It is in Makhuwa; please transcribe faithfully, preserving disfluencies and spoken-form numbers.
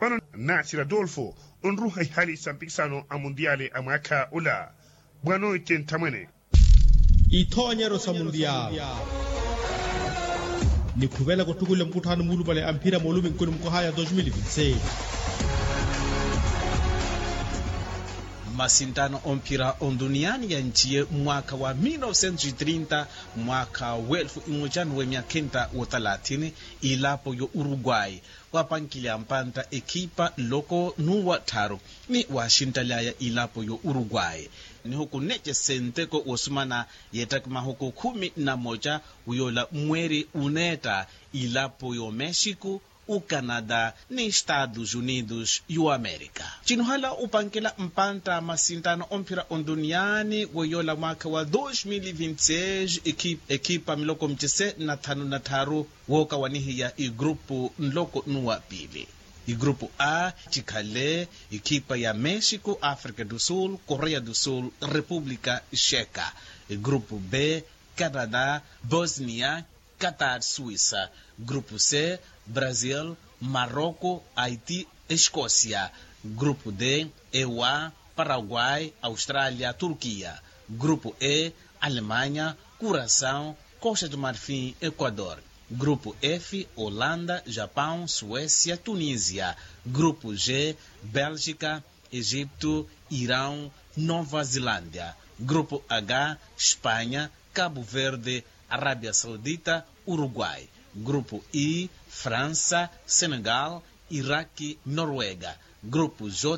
Vano nasira adolfo onruha ihali sa mpikisano a mundiali a mwaakha ola. Bwanoite nthamwene. Ithoonyeryo sa mundiali ni khuvelaka ottukulela mukutthano muulupale a mphira mooluminkuni mukohaya dos mil vinti seis. Mmasinttano omphira onduniyaani yanchiye mwaakha wa mil novecentos e trinta, mwaakha wa elfu imocanu wa emyakha entta wa talathini, ilapo yo uruguay wapankilya mpantta ekhipa nloko n'uwa tthaaru ni waxinttaly'aya ilapo yo uruguay. Nihuku nneece senteko wosumana yeettaki mahuku khumi na moca wiyoola mweeri uneetta ilapo yo mexico, ucanada ni estados unidos y'oamerica. Cinuhala upankela mpantta masinttano omphira onduniyaani wiyoola mwaakha wa dos mil vinti seis, ekhipa miloko micese na tthanu na tthaaru wookawanihiya igrupu nloko n'uwa piili. Igrupu a cikhale ekhipa ya mexico, africa do sul, korea do sul, república checa. Igrupu b, canada, bosnia, qatar, suisa. Grupu c, brazil, maroko, haiti, escosia. Grupu d, ewa, paraguay, australia, turkia. Grupu e, alemanya, kurasaw, costa do marfin, ekuador. Grupu f, holanda, japaw, suesia, tunisia. Grupu g, belgika, egiptu, iraw, nova zilandia. Grupu h, spanya, kabu verde, arabia saudita, uruguay. Grupu i, fransa, senegal, iraki, norwega. Grupu j,